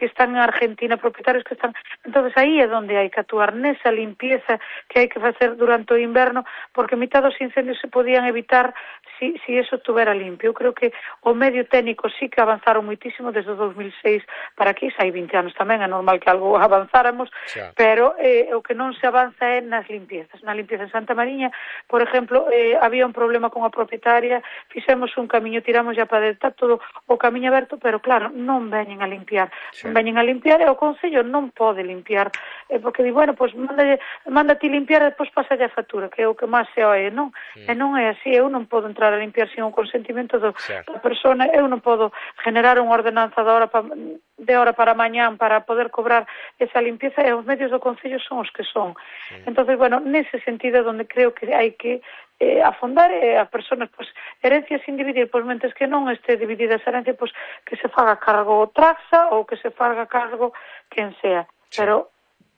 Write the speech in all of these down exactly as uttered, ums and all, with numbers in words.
que están en Argentina, propietarios que están... Entonces aí é onde hai que actuar, nesa limpieza que hai que facer durante o inverno, porque mitad dos incendios se podían evitar si, si eso estuvera limpio. Eu creo que o medio técnico sí que avanzaron moitísimo desde o dos mil seis para aquí, xa hai vinte anos tamén, é normal que algo avanzáramos, xa. Pero eh, o que non se avanza é nas limpiezas. Na limpieza en Santa Mariña, por exemplo, eh, había un problema con a propietaria, fixemos un camiño, tiramos ya para dentro, todo o camiño aberto, pero claro, non veñen a limpiar. Xa. Non veñen a limpiar e o Concello non pode limpiar, eh, porque di, bueno, pois pues, manda, manda ti limpiar e depois pasa a factura, que é o que máis se oe, non? Mm. E non é así, eu non podo entrar a limpiar sin o consentimento do, da persona, eu non podo generar unha ordenanza de hora, pa, de hora para mañán para poder cobrar esa limpieza, e os medios do Concello son os que son. Mm. Entonces, bueno, nese sentido onde creo que hai que eh, afondar eh, a personas, pois, herencias sin dividir, pois, mentes que non este dividida esa herencia, pois, que se faga cargo Traxa ou que se faga cargo quen sea. Sí. Pero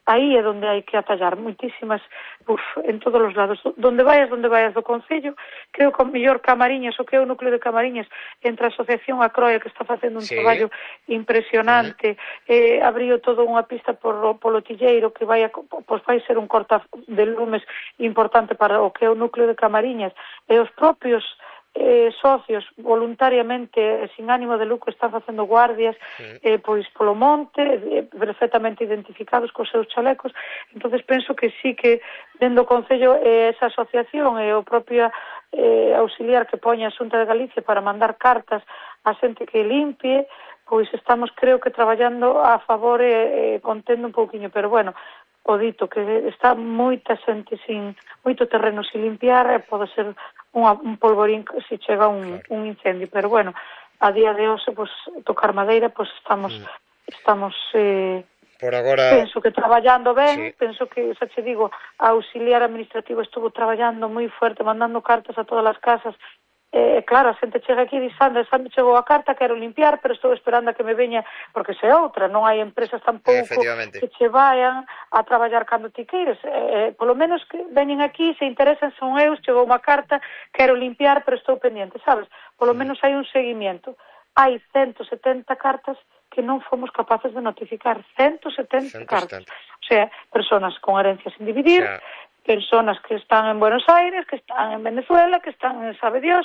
aí é onde hai que atallar moitísimas, uf, en todos os lados. Donde vayas, donde vayas do Concello, creo que o mellor Camariñas, o que é o núcleo de Camariñas, entre a Asociación a Croia, que está facendo un sí. traballo impresionante, uh-huh. eh, abriu toda unha pista por, polo Tilleiro, que vai, a, pois vai ser un corta de lumes importante para o que é o núcleo de Camariñas, e os propios Eh, socios voluntariamente eh, sin ánimo de lucro están facendo guardias sí. eh, pois polo monte eh, perfectamente identificados cos seus chalecos. Entonces penso que sí que dentro do Concello eh, esa asociación e eh, o propio eh, auxiliar que poña a Xunta de Galicia para mandar cartas a xente que limpie, pois estamos creo que traballando a favor e eh, contendo un pouquiño, pero bueno, o dito que está moita xente sin, moito terreno sin limpiar, e pode ser unha, un polvorín se chega un, claro. un incendio, pero bueno, a día de hoxe, pues, tocar madeira, pues estamos, mm. estamos, eh, por agora, penso que traballando ben, sí. penso que, xa che digo, a auxiliar administrativo estuvo traballando moi fuerte, mandando cartas a todas as casas. Eh, claro, a xente chega aquí e di, Sandra, Sandra chegou a carta, quero limpiar, pero estou esperando a que me veña, porque se outra, non hai empresas tampouco que che vayan a traballar cando ti queires. Eh, polo menos que veñen aquí, se interesan, son eus, chegou unha carta, quero limpiar, pero estou pendiente, sabes? Polo menos hai un seguimiento. Hai ciento setenta cartas que non fomos capaces de notificar, ciento setenta cartas. O sea, personas con herencias sin dividir, yeah. personas que están en Buenos Aires, que están en Venezuela, que están en sabe Dios,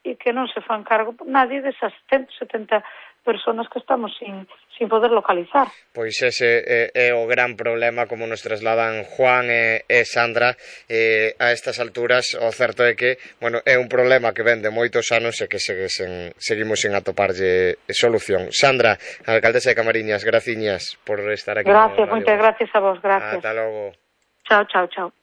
e que non se fan cargo nadie desas ciento setenta personas que estamos sin, sin poder localizar. Pois ese é, é o gran problema, como nos trasladan Juan e, e Sandra, eh, a estas alturas. O certo é que, bueno, é un problema que ven de moitos anos e que segue sen, seguimos sen atoparlle solución. Sandra, alcaldesa de Camariñas, graciñas por estar aquí. Gracias, moitas gracias a vos, gracias. Ata logo. Chao, chao, chao.